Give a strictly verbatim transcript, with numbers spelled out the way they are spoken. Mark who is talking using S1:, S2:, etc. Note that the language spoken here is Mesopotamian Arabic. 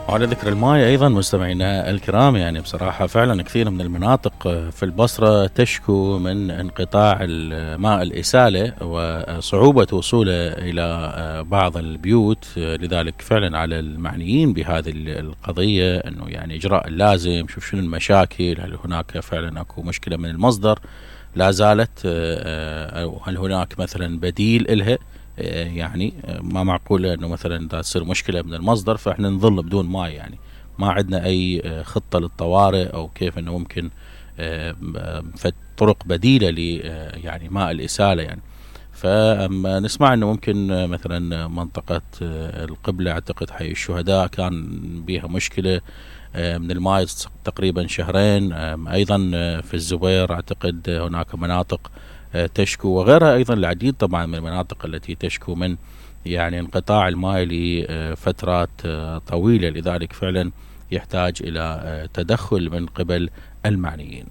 S1: وعلى ذكر الماي أيضا مستمعينا الكرام، يعني بصراحة فعلا كثير من المناطق في البصرة تشكو من انقطاع الماء الإسالة وصعوبة وصوله إلى بعض البيوت. لذلك فعلا على المعنيين بهذه القضية أنه يعني إجراء اللازم، شوف شنو المشاكل، هل هناك فعلا أكو مشكلة من المصدر لا زالت، أو هل هناك مثلا بديل إلها. يعني ما معقولة انه مثلا دا تصير مشكلة من المصدر فاحنا نظل بدون ماي، يعني ما عندنا اي خطة للطوارئ او كيف انه ممكن طرق بديلة ل يعني ماء الإسالة. يعني فنسمع انه ممكن مثلا منطقة القبلة، اعتقد حي الشهداء كان بيها مشكلة من الماء تقريبا شهرين. ايضا في الزبير اعتقد هناك مناطق تشكو، وغيرها ايضا العديد طبعا من المناطق التي تشكو من يعني انقطاع الماء لفترات طويلة. لذلك فعلا يحتاج الى تدخل من قبل المعنيين.